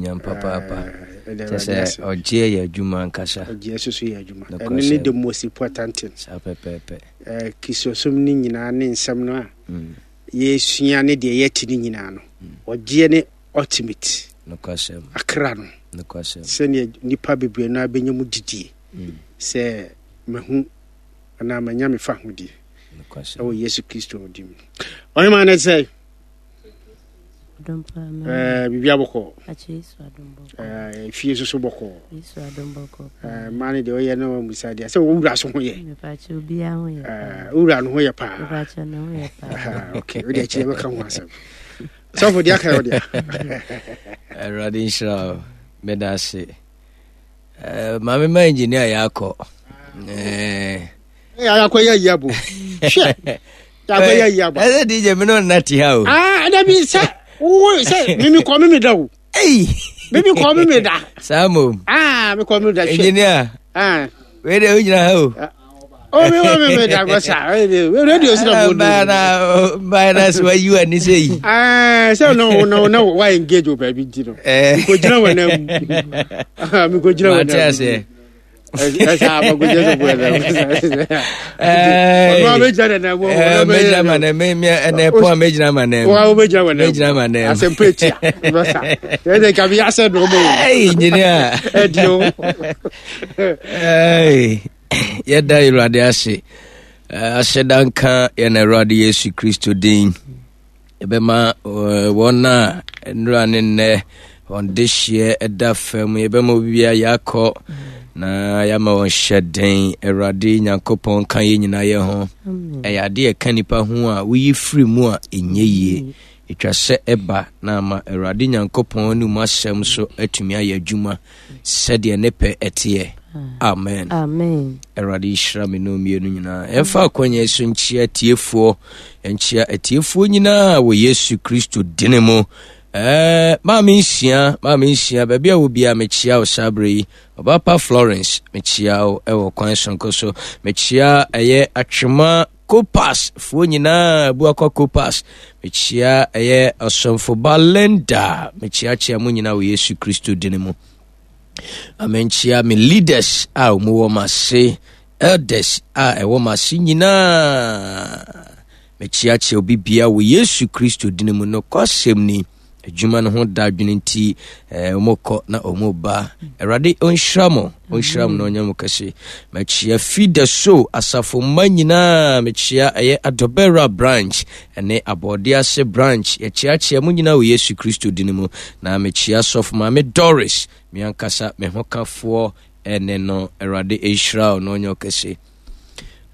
anuonyam papaapa. Kyɛ sɛ ɔgyeɛ yɛ adwuma ankasa. Ɔgyeɛ soso yɛ adwuma. Ɛno ne the most important thing. Saa pɛpɛɛpɛ. Kristosom no nyinaa ne nsɛm no a mm. yɛsua ne deɛ yɛte no nyinaa no, mm. ɔgyeɛ ne ultimate. Nokwasɛm. Akra no. Nokwasɛm. Sɛdeɛ nipa bebree no abɛnya mu didie. Mm. Sɛ mahu anaa manya me fa hodie. Nokwasɛm. Ɛwɔ Yesu Kristo din mu. Ɔhema no sɛ biribi abɔkɔ fie soso bɔkɔ mmaa no deɛ ɔyɛ no musa deɛ sɛ wowura so ho yɛ wowura no ho yɛ paa ok wode akyirɛ bɛka ho asɛm sɔfo deɛ aka yɛ wodeɛ. Awurade nhyira wo, meda ase. Maame ma engineer yɛ akɔ. Akɔ yɛ ayi abo hwɛ akɔ yɛ ayi abo. Ɛsɛ DJ mi n'o na ti ha o. Aa ɛdɛ bi sɛ wo sɛ mimi kɔ mimi da o. Eyi. Mimi kɔ mimi da. Saa mo. Aa mi kɔ mimi da hwɛ. Engineer. Aa. Wei de o gyina ha o. O mi wɔ mimi da kɔ sa radio si na mo do. Baa na sɛ wayi wa ni sɛ yi. Ɛɛ sɛ na na na wa engage o baabi nti no. Ɛɛ. Mi ko gyina wɔ na mu. Mi ko gyina wɔ na mu. Mate aseɛ. Ɛsɛ abagogye sɛ bɔ ɛdɛ. Ɔno a bɛgyina dɛ na ɛwɔ. Mɛgyina ma nɛ mɛ mɛ ɛnɛ pɔn a mɛgyina ma nɛ. Wa wo bɛgyina ma nɛ. Mɛgyina ma nɛ. Asɛmpa etia. Bɛsa. Ɛdɛ nka bi asɛ dɔn mo. Ɛyi engineer. Ɛdi o. Ɛyi yɛda Awurade ase. Ahyɛda nka yɛn Awurade Yesu Kristo din. Yɛbɛma wɔn a nnura ne nnɛ wɔn dehyeɛ ɛda fam, yɛbɛma obiara yɛakɔ na yɛama wɔn hyɛ den. Awurade Nyankopɔn ka yɛn nyinaa yɛ ho. Ɛyɛ ade a ɛka nipa ho a woyi firi mu a ɛnyɛ yie. Ɛtwa sɛ ɛba na ama Awurade Nyankopɔn ne mu asɛm so atumi ayɛ adwuma sɛdeɛ ne pɛ ɛteɛ. Amen. Amen. Awurade nhyira me no mmienu nyinaa. Ɛmfa akwanya so nkyia atiefoɔ, nkyia atiefoɔ nyinaa wɔ Yesu Kristo dini mu. Ɛɛ maame nsia, maame nsia, baabi a wɔ biara mekyia wo saa berɛ yi. Ɔbapa Florence, mekyia wo ɛwɔ kwan sonko so. Mekyia ɛyɛ Atwema Kopas foɔ nyinaa, Abuakwa Kopas. Mekyia ɛyɛ Ɔsomfoba Linda. Mekyiakyia mo nyinaa wɔ Yesu Kristo dini mu. Amenkyia me leaders a wɔn wɔ m'ase, elders a ɛwɔ m'ase nyinaa. Mekyiakyia obi bia wɔ Yesu Kristo dini mu. Nokwasɛm ni, adwuma no ho da adwene nti eh, wɔkɔ na wɔn ba. Awurade ɔnhyira mo, ɔnhyira mo na ɔnyɛ mo kɛse. Mekyia Fida so asafo mma nyinaa, mekyia ɛyɛ Adɔbɛra branch ɛne Abɔde ase branch. Yɛkyeakyea mo nyinaa wɔ Yesu Kristo dini mu. Na mekyia sɔfo maame Doris, me ankasa me hokafoɔ ɛne no. Awurade nhyira wo na ɔnyɛ ɔkɛse.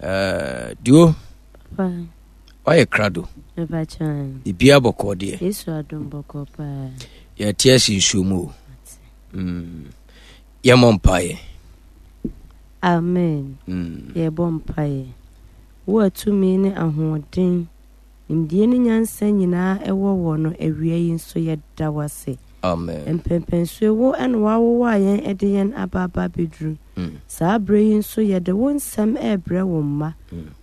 Uh, duo, wayɛ krado. Biribiara bɔkɔɔ deɛ. Yesu adom bɔkɔɔ paa. Yɛte ase nsuo mu o. Mm. Yɛmmɔ mpaeɛ. Amen. Mm. Yɛbɔ mpaeɛ. Wo a tumi ne ahoɔden, nimdeɛ ne nyansa nyinaa wɔ wɔ no, awia yi nso yɛda wo ase. Amen. Mpɛnpɛnsoɔ wo na woawowa yɛn de yɛn aba aba abɛduru. Saa berɛ yi nso yɛde wo nsɛm rebrɛ wo mma.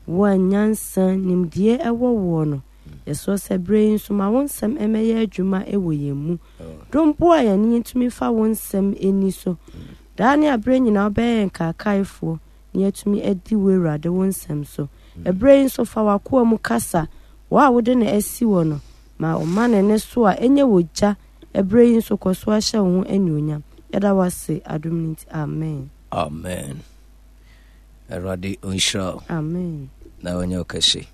Wo a nyansa, nimdeɛ wɔ woɔ no, yɛsrɛ sɛ berɛ yi nso ma wo nsɛm mmɛyɛ adwuma wɔ yɛn mu. Dom boa yɛn na yɛntumi mfa wo nsɛm nni so. Daa ne aberɛ nyinaa wobɛyɛ yɛn kaakaefoɔ na yɛatumi adi wo Awurade wo nsɛm so. Ɛberɛ yi nso fa w'akoa mu kasa, wo a wode no asi hɔ no, ma ɔma ne nne so a ɛnyɛ wɔ gya, ɛberɛ yi nso kɔ so ara hyɛ wo ho anuonyam. Yɛda wo ase adom no nti. Amen. Amen. Awurade ɔnhyira wo. Amen. Na ɔnyɛ wo kɛse.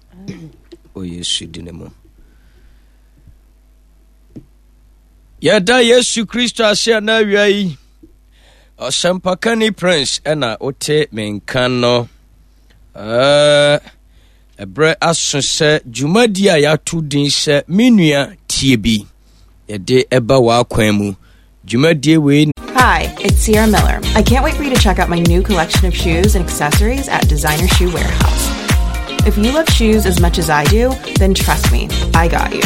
Wɔ Yesu din mu. Yɛda Yesu Kristo ase ana awia yi. Ɔsɛmpakani Prince ɛna wote me nka no. Ɛberɛ aso sɛ dwumadi a yɛato din sɛ Me Nua Tie Bi yɛde ɛba w'akwan mu. Dwumadie wei. Hi, it's Sierra Miller. I can't wait for you to check out my new collection of shoes and accessories at Designer Shoe Warehouse. If you love shoes as much as I do, then trust me, I got you.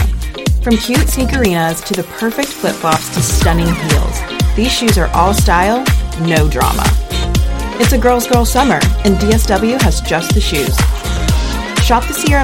From cute sneakerinas to the perfect flip-flops to stunning heels, these shoes are all style, no drama. It's a girl's girl summer, and DSW has just the shoes. Shop the Sierra Miller